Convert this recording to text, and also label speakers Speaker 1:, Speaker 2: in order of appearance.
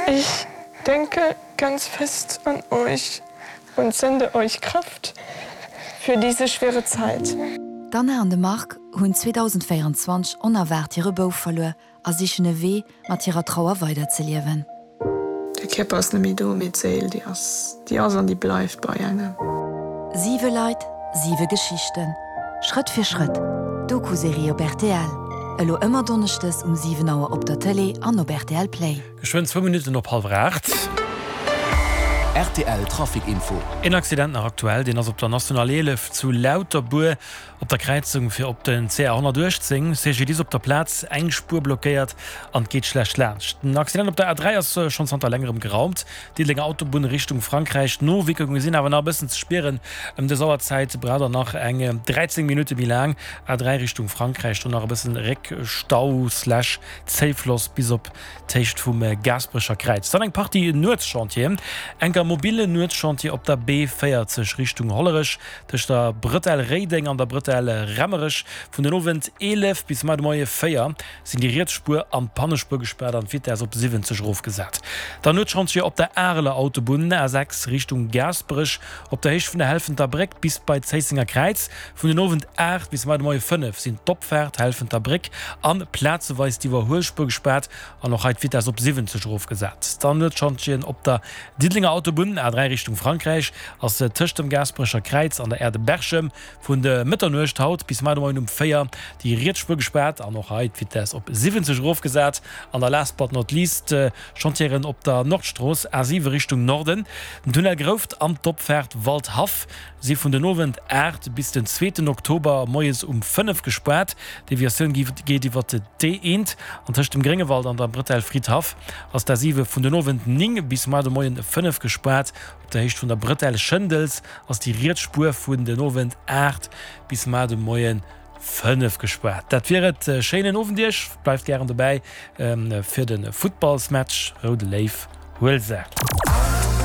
Speaker 1: Ich denke ganz fest an euch und sende euch Kraft für diese schwere Zeit.
Speaker 2: D'Anna an de Marc hunn 2024 onerwaart hire Bouf verluer a sichen e Wee, mat hirer Trauer weiderzeliewen.
Speaker 1: De Kierper ass net méi do, mee d'Séil, déi ass, déi ass an déi bleift bei engem.
Speaker 2: Siwe Leit, siwe Geschichten. Schrëtt fir Schrëtt, Doku-Serie op rtl. Elo ëmmer donneschdes um 7 Auer op der Tëlee an op rtl Play.
Speaker 3: Geschwënn zwou Minutten op hallwer 8.
Speaker 4: Rtl Trafic Info.
Speaker 3: Een Accident nach aktuell, deen ass op der National 11 zu Lauterbuer op der Kräizung fir op den CR 118. CGDIS op der Plaz, eng Spuer blockéiert an et geet schlecht laanscht. Den Accident op der A3 ass schonn zanter längerem geraumt. Diddelenger Autobunn Richtung Frankräich. D'Nowierkunge sinn awer nach e bëssen ze spieren. Ëm dës Auerzäit braucht der nach eng 13 Minutte méi laang. A3 Richtung Frankräich, do nach e bëssen Réckstau slash Zéifloss bis op d'Héicht vum Gaasperecher Kräiz. Dann eng Partie Nuetschantieren. Enker mobile Nuetschantier op der B 40 Richtung Hollerech tëscht der Bretelle Réideng an der Bretelle Remmerech. Vun den Owend 11 bis mar de Moie 4 sinn déi riets Spuer an d'Pannespuer gespaart an d'Vitess op 70 erofgesat. Dann Nuetschantier op der Areler Autobunn A6 Richtung Gaasperech op der Héicht vun der Helfenter Bréck bis bei d'Zéissenger Kräiz. Vun den Owend 8 bis mar de Moie 5 sinn d'Opfaart Helfenter Bréck an plazeweis d'Iwwerhuelspuer gespaart an och hei d'Vitess op 70 erofgesat. Dann Nuetschantjen op der Diddelenger Autobunn A3 Richtung Frankräich ass tëscht dem Gaasperecher Kräiz an der Aire de Berchem vun de Mëtternuecht haut bis mar de Moien um 4 déi riets Spuer gespaart an och hei d'Vitess op 70 erofgesat. An da last but not least Chantieren op der Nordstrooss A7 Richtung Norden, den Tunnel Grouft an d'Opfaart Waldhaff. Si vun den Owend 8 bis den zweeten Oktober moies um 5 gespaart. D'Deviatioun geet iwwer d'E1 an tëscht dem Gréngewald an der Bretelle Fridhaff ass d'A7 vun den Owend 9 bis muar de Moien 5 gespaart. Op der Héicht vun der Bretelle Schëndels ass déi riets Spuer vun den Owend 8 bis muar de Moien 5 gespaart. Dat wier et. Schéinen Owend iech. Bleift gären dobäi fir de Futtballsmatch Roude Léiw, Huelser.